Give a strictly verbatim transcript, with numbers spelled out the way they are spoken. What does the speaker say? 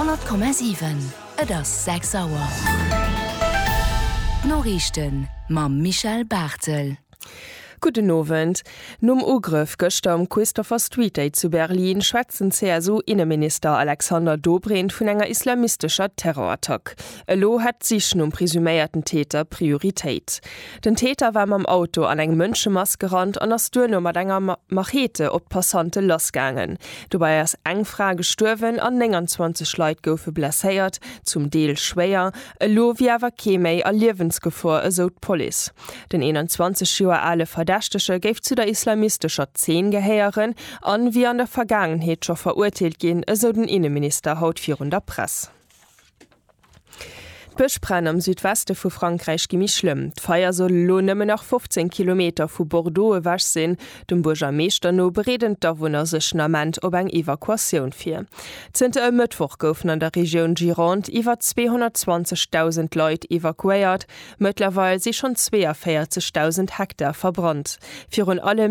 Honnert Komma siwen, Et ass sechs Auer. D'Noriichten mam Michèle Barthel. Gudden Owend. Nom Ugrëff gëschter um Christopher Street Day zu Berlin schwätzt den C S U-Inneminister Alexander Dobrindt vun enger islamistescher Terrorattack. Elo hätt d'Sich nom presuméierten Täter Prioritéit. Den Täter war mam Auto an eng Mënschemass gerannt an ass duerno mat enger Machete op d'Passante lassgaangen. Dobäi ass eng Fra gestuerwen an nénganzwanzeg Leit goufe blesséiert, zum Deel schwéier. Elo wier awer kee méi a Liewensgefor, esou d'Police. Den eenanzwanzeg Joer ale Verdächtege géif zu der islamistescher Zeen gehéieren an wier an der Vergaangenheet scho verurteelt ginn, esou den Inneminister haut virun der Press. D'Bëschbränn am Südweste vu Frankräich gi méi schlëmm. D'Feier soll elo nëmmen nach fofzéng Kilometer vu Bordeaux ewech sinn. Dem Buergermeeschter no bereeden d'Awunner sech den Ament op eng Evakuatioun vir. Zënter e Mëttwoch goufen an der Regioun Gironde iwwer zweehonnertzwanzegdausend Leit evakuéiert. Mëttlerweil si schonn zweeënvéierzegdausend Hektar verbrannt. Virun allem